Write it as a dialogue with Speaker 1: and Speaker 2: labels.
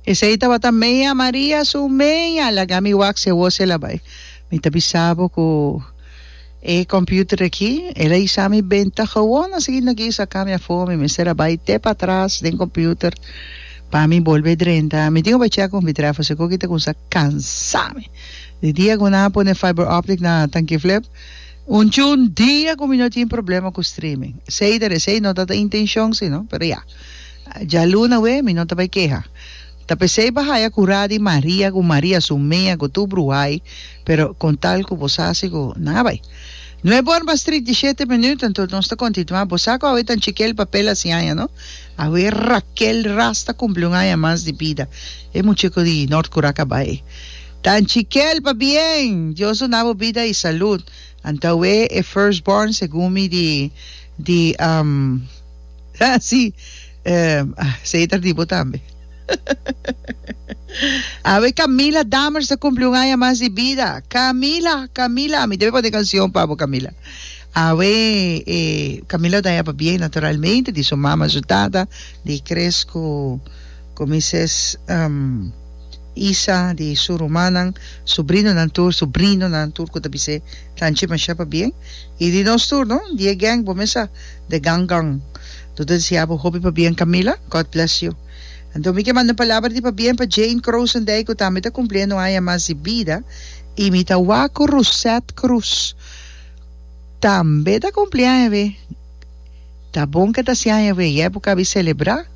Speaker 1: Esei tabata mea Maria su mea. Laga mi wak si awor si el a bai. Mi ta bisa bo ku e computer aki el a hisa mi benta gewoon asina aki saka mi afó. Mi mester a bai te patras den computer pa mi bolbe drenta. Mi tin ku bai chek ku mi trèfo si koki ta kumsa kansa mi. Di dia ku nan a pone fiber optic na Tanki Flip un chun dia ku mi no tin problema ku streaming. Esei ta esei no ta ta intencion si no pero ya. Djaluna we mi no ta bai keha. Ta pesey pa haya cura di Maria cu Maria su mea cu tur bruhai pero con tal cu bo sa si cu nan a bai. Nuebe ora mas 37 minuut anto nos ta continua bo sa cu awe tan chikel papel haci aña no awe Raquel Ras ta cumpli un aña mas di bida e mucheco di Noord Curaca bai tan chikel pabien Dios duna bo bida y salud anto awe e first born segun mi di di. Ah, sí. Eh, ah, sei ta di bo tambe. Awe Camila Dammers ta cumpli un aña mas di bida. Camila, Camila, mi debe pone canción pa bo, Camila. Awe, eh, Camila ta pa bien, naturalmente, di su mama, su tata, di Chris cu, cu Mrs. Um, Isa, di su rumannan, sobrinonan tur, sobrinonan tur cu ta bis'é tanchi masha pa bien. Y di nos tur, no? Di e gang, bo mes sa. The gang gang. Tu ta deseá bo hopi pabien Camila. God bless you. Anto mi ke manda un palabra di pabien pa Jane Krosendijk ku tambe ta kumpliendo un aña mas di bida i mi ta wak ku Rosette Cruz tambe ta kumpli aña be. Ta bon ke ta hasi aña be. Ya e por kabi selebrá.